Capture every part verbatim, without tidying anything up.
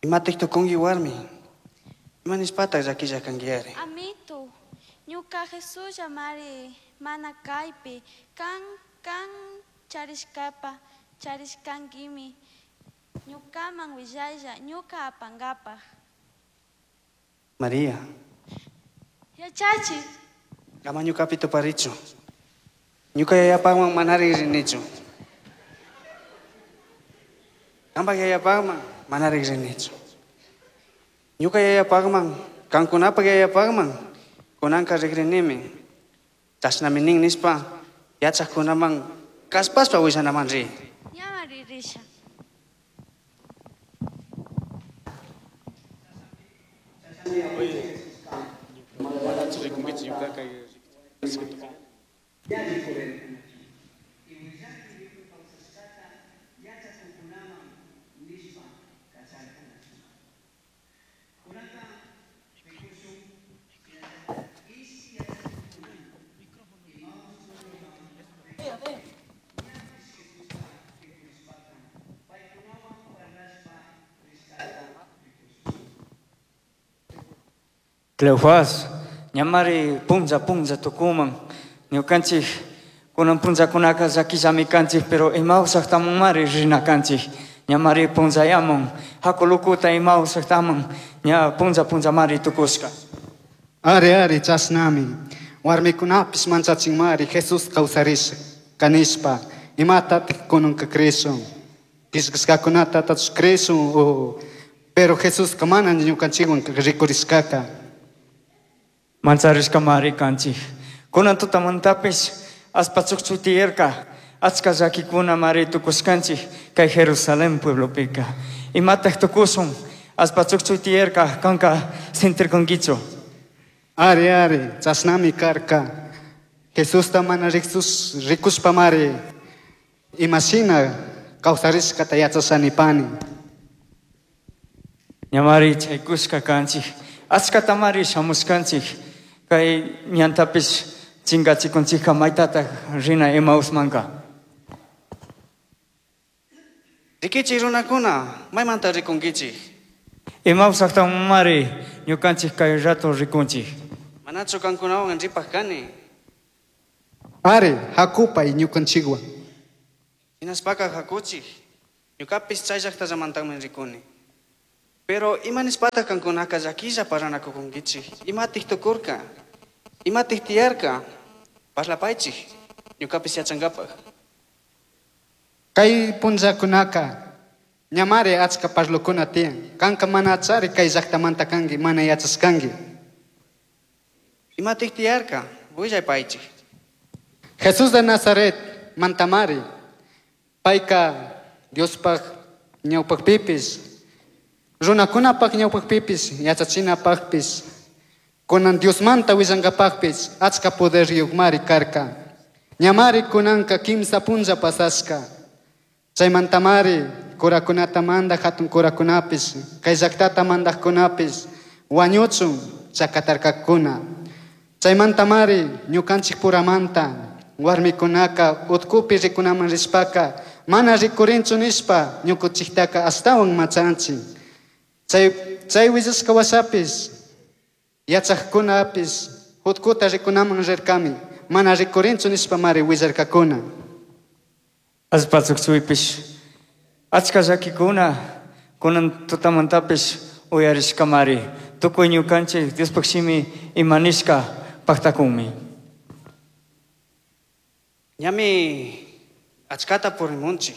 Imatik tukunki warmi? Ima nishpataq llakilla kankiyari? Amito, ñuka Jesulla mari mana kaypi, kan kan charishkapa charishkankimi, ñukaman willaylla ñuka apankapaj. María, Yachachi, ama ñukapi tuparichu. Ñuka yayapaqman manari rinichu. Qampak yayapaqman manari rinichu. Ñuka yayapaqman, qankunapak yayapaqman, kunanka rikrinimi. Chashnami nin nishpa, yachaqkunaman kallpashpa willanaman ri. Ñama ririsha. Cleofas, ñamari punza punza tukuman, ñukanchik kunan punllakunaka llakillami kanchik, pero Emaús llaktamanmari rina kanchik, ñamari punllayamun, hakulukuta Emaús llaktaman, ña punlla punllamari tukushka. Ari, ari, chashnami, warmikunapis manchachinmari Jesús kawsarish kanishpa, imatatik kunanka crishun, killkashkakunata tachush crishun, o, pero Jesuska mana ñukanchikwan rikurishkaka. Mancharishkamari kanchik. Kunan tutamantapis aspa chukchu tiyarka, achka llakikuna mari tukushkanchik kay Jerusalén pueblopika. Imataj tukushun, aspa chukchu tiyarka, kanka sentirkankichu. Ari, ari, chashnami karka. Jesusta mana riksus, rikushpamari, imashina kawsarishkata yachashanipani. Ñamari chaykushka kanchik, achkatamari shamushkanchik, kay ñantapis chinkachikunchikka maytataj rina Emausmanka. Rikichik runakuna, maymanta rikunkichik? Emaús llaktamanmari ñukanchik kay rato rikunchik. Manachu kankunawan ripaj kani? Ari, hakupay ñukanchikwan. Hinashpaka hakuchik, ñukapis chay llaktallamantakmi rikuni. Pero ima nishpataq kankunaka llakilla parlanakukunkichik? Imatik tukurka? Imatik tiyarka? Parlapaychik, ñukapis yachankapaj. Kay punllakunaka ñamari achka parlukuna tiyan. Kanka mana achari kay llaktamanta kanki, mana yachashkanki. Imatik tiyarka? Willaypaychik. Jesús de Nazaret mantamari, payka Diospaj ñawpakpipis, runakunapaj ñawpakpipis, yachachinapajpis, kunan Diosmanta willankapajpis, achka poderyuqmari karka. Ñamari kunanka kimsa punlla pasashka. Chaymantamari kurakunata mandaj hatun kurakunapis, kay llaktata mandajkunapis, wañuchun chakatarkakuna. Chaymantamari ñukanchik puramanta warmikunaka utkupi rikunaman rishpaka, mana rikurinchu nishpa ñukunchiktaka ashtawan machanchik. Chay, chay willashka washapis, yachaqkunapis utkuta rikunaman rirkami, mana rikurinchu nishpa mari willarkakuna. Allpa chukchuypish, achka llakikuna kunan tutamantapis uyarishkamari, tukuy ñukanchik Diospaj shimi imanishka paktakunmi. Ñami achkata purimunchik.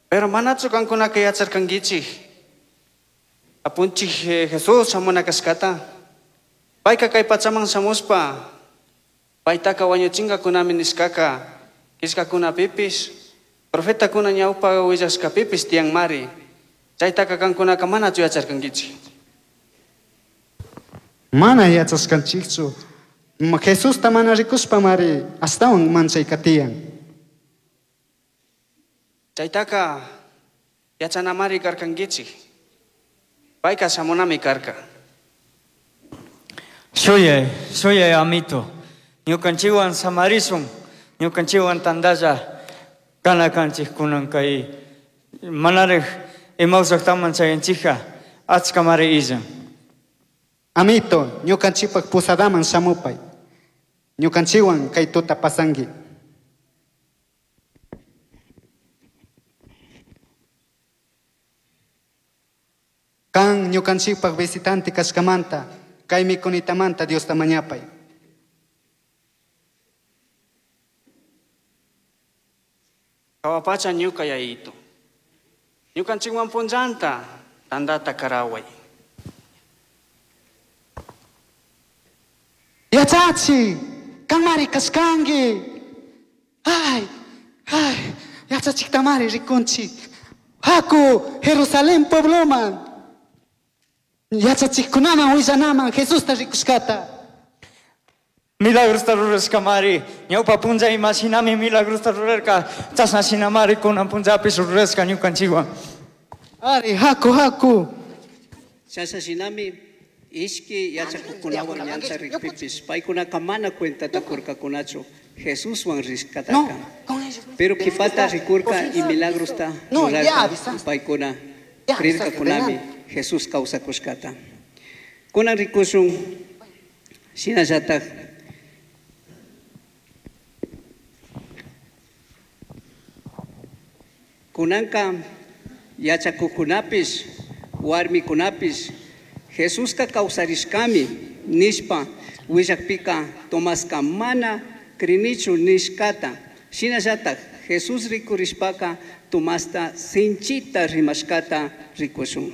Pero manachu kankunaka yacharkankichik? Apunchik, eh, Jesús shamuna kashkata. Payka kay pachaman shamushpa, paytaka wañuchinkakunami nishkaka, killkakunapipis, profetakuna ñawpa willashkapipis tiyanmari. Chaytaka kankunaka manachu yacharkankichik? Mana yachashkanchikchu. Ma Jesusta mana rikushpamari ashtawan manchayka tiyan. Chaytaka yachanamari karkankichik. Payka shamunami karka. Shuyay, shuyay amito. Ñukanchikwan samarishun, ñukanchikwan tantalla kana kanchik kunan kay manaraj Emaús llaqtaman chayanchikqa achkamari illan. Amito, ñukanchikpak posadaman shamupay. Ñukanchikwan kay tuta pasanki. Kan ñukanchikpak visitante kashkamanta, kay mikunitamanta Diosta mañapay. Kawapacha ñuka yayito. Ñukanchikwan punllanta tantata karaway. Yachachi, kanmari kashkanki. Ay, ay, yachachiktamari rikunchik. Haku, Jerusalén puebloman. Yachachikkunaman willanaman Jesusta rikushkata. Milagrosta rurashkamari, ñawpa punlla imashinami milagrosta rurarka, chashna shinamari kunan punllapish rurashka ñukanchikwan. Ari, haku, haku. Chashna shinami ishki yachakuqkunawan ñanta rikpipish paykunaka mana cuentata kurkakunachu Jesuswan rishkataka. No, con ellos. Pero kipata rikurka y milagrosta No, ya rurarka avisaste. paykuna Ya avisaste, rirkakunami delante. Jesús kawsakushkata. Kunan rikushun shinallatak kunanka yachakuqkunapish warmikunapish Jesuska kawsarishkami nishpa willakpika Tomaska mana krinichu nishkata. Shinallatak Jesús rikurishpaka Tomasta sinchita rimashkata rikushun.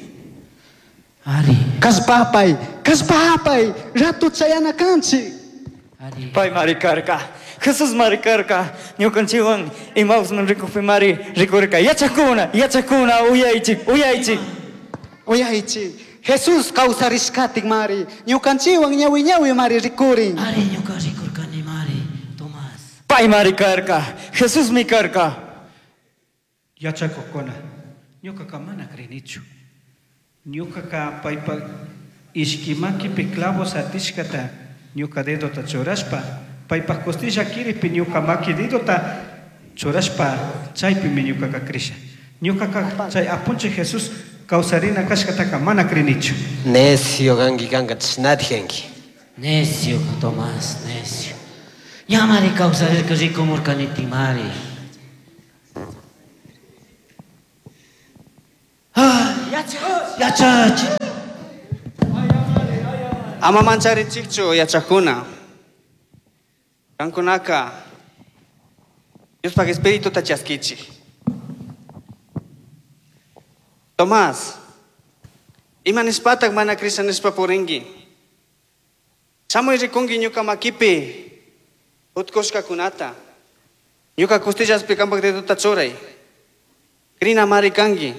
Ari. Kashpapay, kashpapay, rato chayana kanchik. Ari. Pay mari karka, Jesús mari karka, ñukanchikwan Emausman rikukpi mari rikurka. Yachakuna, yachakuna, uyaychik, uyaychik. Uyaychik. Jesús kawsarishkatik mari, ñukanchikwan ñawi ñawi mari rikurin. Ari ñuka rikurkani mari, Tomás. Pay mari karka, Jesús mi karka. Yachakuqkuna, ñuqaqa mana crinichu. Ñuqaqa paypa ishki makipi clavos atishkata ñuqa dedota churashpa, paypa costilla kiripi ñuqa maki dedota churashpa, chaypimi ñuqaqa krisha. Ñuqaqa chay apunchik Jesús kawsarina kashkataka mana crinichu. Necio kanki kanka chashnatij. Necio, Tomás, necio. Ñamari kawsarirka rikumurkaniti mari. Ay, yachachi. Ama mancharichikchu yachakuna. Kankunaka Diospaj espirituta chaskichik. Tomás, ima nishpatak mana krisha nishpa purinki? Shamuy rikunki ñuka makipi utkushkakunata. Ñuka costillaspi kanpak dedota churay. Krina mari kanki.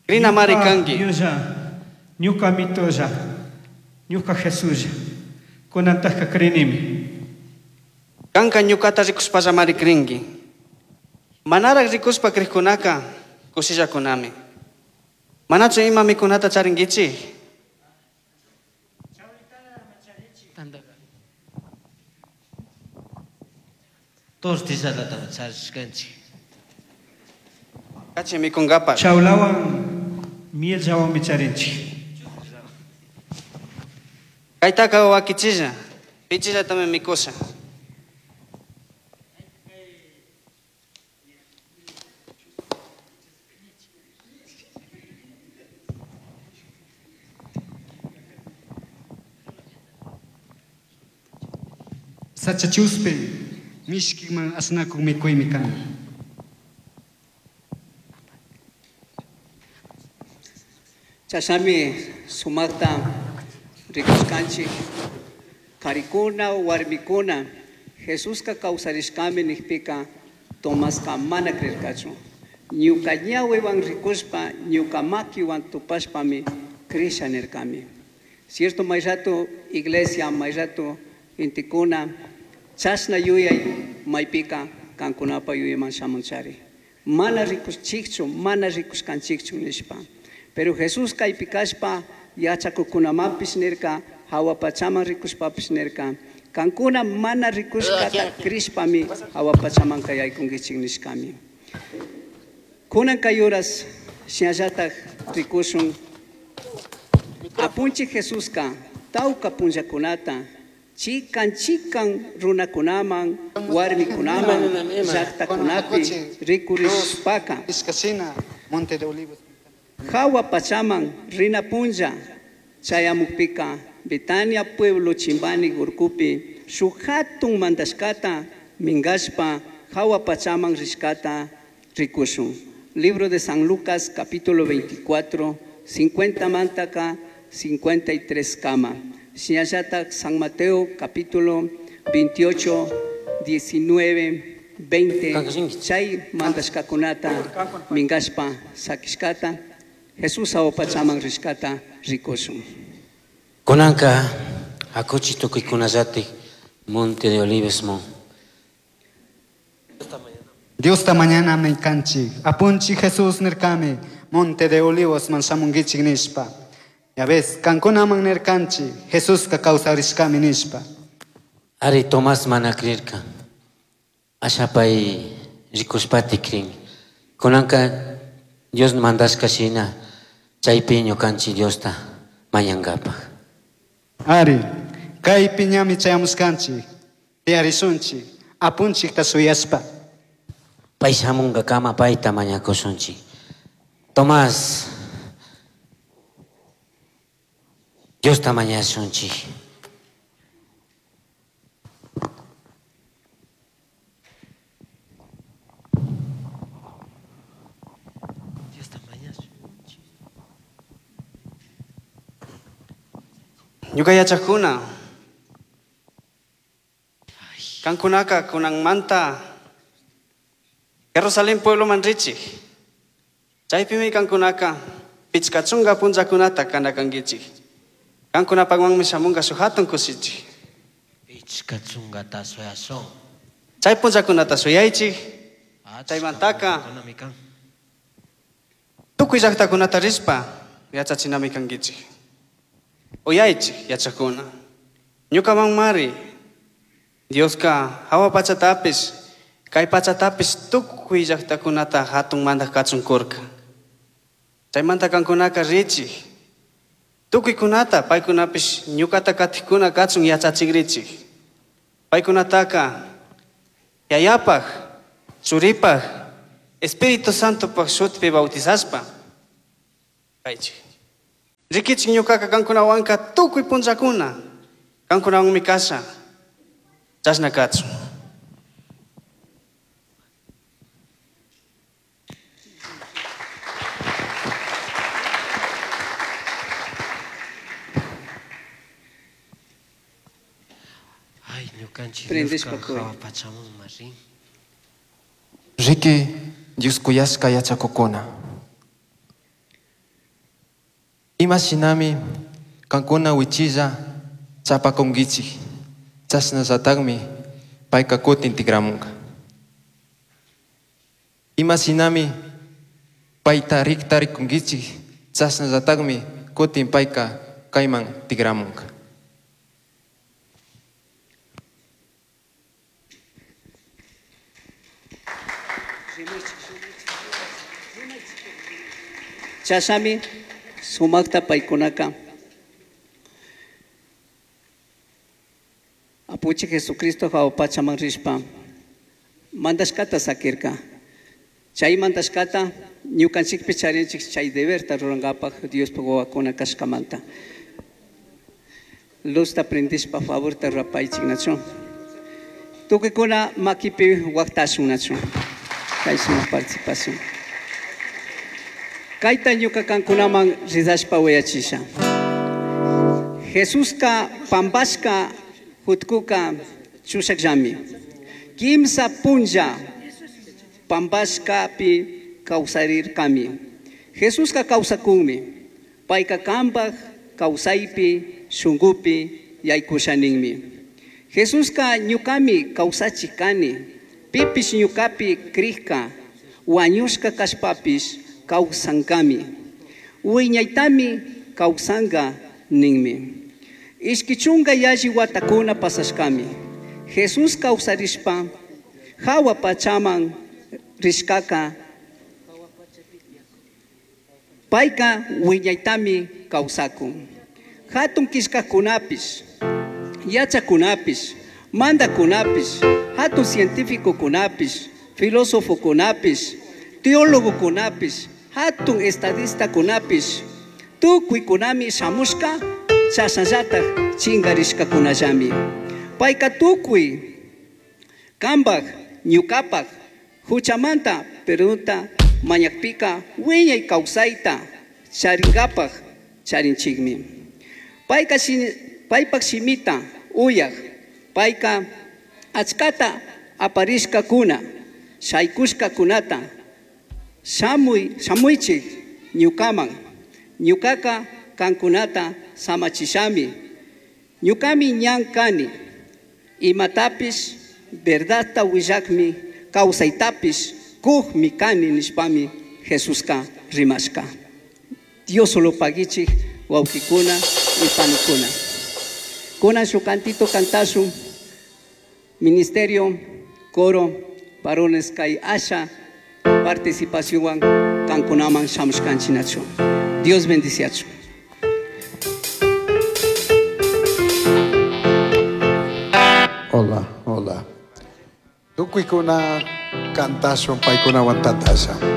Krina mari kanki. Dioslla, ñuka mitolla, ñuka Jesuslla, kunantajka krinimi. Kanka ñukata rikushpalla mari krinki. Manarak rikushpa krikkunaka kushillakunami. Manachu ima mikunata charinkichik? Tortillatata charishkanchik. Kachi mikunkapak. Chawlawan mielllawanmi charinchik. Kaytaka wakichilla, pichillatami mikusha. Sacha chuspe, mishkiman asnakuq mikuymi kan. Chashnami sumakta rikushkanchik karikuna warmikuna Jesuska kawsarishkami nikpika Tomaska mana krirkachu. Ñuka ñawiwan rikushpa, ñuka makiwan tupashpami krisha nirkami. Cierto may rato iglesia, may rato intikuna, chashna yuyay maypika kankunapa yuyayman shamunchari. Mana rikushchikchu, mana rikushkanchikchu nishpa. Pero Jesús kaypi kashpa yachakuqkunamanpish nirka, hawa pachaman rikushpapish nirka, kankuna mana rikushkata krishpami hawa pachaman kayaykunkichik nishkami. Kunan kay horas Shinallatak rikushun Apunchik Jesuska tawka punllakunata chikan chikan runakunaman warmikunaman llaqtakunapi rikurishpaka Ishkashina Monte de Olivos. Hawa pachaman rina punlla chayamukpika Betania pueblo chimbani urkupi shuk hatun mandashkata minkashpa hawa pachaman rishkata rikushun. Libro de San Lucas capítulo veinticuatro, cincuenta mantaka cincuenta y tres kama. Shinallatak San Mateo capítulo veintiocho, diecinueve, veinte, chay mandashkakunata minkashpa sakishkata Jesús hawa pachaman rishkata rikushun. Kunanka akuchi tukuykunallatik Monte de Olivos mon. Dios ta mañana me kanchik. Apunchi Jesús nirkami Monte de Olivos man shamungichik nishpa. Ya ves, kankunaman nirkanchi Jesús ka kawsarishkami nishpa. Ari Tomás mana creerka. Ashapay rikushpati krin. Kunanka Dios mandashka shina chaypi ñukanchik Diosta mañankapaj. Ari, kaypi ñami chayamushkanchik, tiyarishunchik, apunchikta shuyashpa. Pay shamunkakama payta mañakushunchik. Tomás, Diosta mañashunchik. Ñuka yachakuna, kankunaka kunanmanta Jerusalén pueblo manrichik. Chaypimi kankunaka pichka chunka punllakunata kanakankichik. Kankunapakwanmi shamunka shuk hatun kushichik. Pichka chunkata suyashun. Chay punllakunata suyaychik. Chaymantaka tukuy llaqtakunata rishpa yachachinami kankichik. Uyaychik yachakuna. Ñukamanmari Dioska hawa pachatapis kay pachatapis tukuy llaqtakunata hatun mandaq kachun kurka. Chaymanta kankunaka richik. Tukuykunata paykunapish ñukata katikkuna kachun yachachikrichik. Paykunataka Yayapaj, Churipaj, Espíritu Santopaj shutipi bautizashpa kaychik. Rikichik ñukaka kankunawanka tukuy punllakuna kankunawanmi kasha. Chashna kachun. Ay, ñukanchik Prendes Dioska pakuy. hawa pachaman marin. Riki Dios kuyashka yachakukuna. Ima shinami kankuna wichilla chapakunkichik. Chashnallatakmi payka kutin tikramunka. Ima shinami payta rikta rikunkichik. Chashnallatakmi kutin payka kayman tikramunka. Chashami sumakta paykunaka Apuchi Jesucristo hawa pachaman rishpa mandashkata sakirka. Chay mandashkata ñukanchikpi charinchik chay deberta rurankapak Diospaj wawakuna kashkamanta. Luzta prendishpa favorta rurapaychik nachu. Tukuykuna makipi waqtashun nachu. Kay sumak participación. Kayta ñuka kankunaman rizashpa uyachisha. Jesuska pampashka jutkuka chushakllami. Kimsa punlla pampashkapi kawsarirkami. Jesuska kawsakunmi. Payka kanpaj kawsaypi shunkupi yaykushaninmi. Jesuska ñukami kawsachik kani. Pipish ñukapi krikka wañushka kashpapish kawsankami. Wiñaytami kawsanka ninmi. Ishki chunka yalli watakuna pasashkami. Jesús kawsarishpa hawa pachaman rishkaka Payka wiñaytami kawsakun. Hatun killkakkunapish, yachakunapish, mandakunapish, hatun científicokunapish, filósofokunapish, teólogokunapish, hatun estadistakunapish, tukuykunami shamushka chashnallatak chinkarishkakunallami. Payka tukuy kanpak ñukapak huchamanta perdonta mañakpika wiñay kawsayta charinkapak charinchikmi. Payka paypak shimita uyak, payka achkata aparishkakuna, shaykushkakunata shamuy shamuychik ñukaman, ñukaka kankunata samachishami. Ñukami ñan kani, imatapish verdadta willakmi, kawsaytapish kukmi kani nishpami Jesuska rimashka. Dios solo paguichik wawkikuna y panikuna. Kunan shuk cantito kantashun, ministerio, coro, varones kay asha participacionwan kankunaman shamushkanchinachu. Dios bendiciachu. Hola, hola. Tukuykuna kantashun paykunawan tantasha.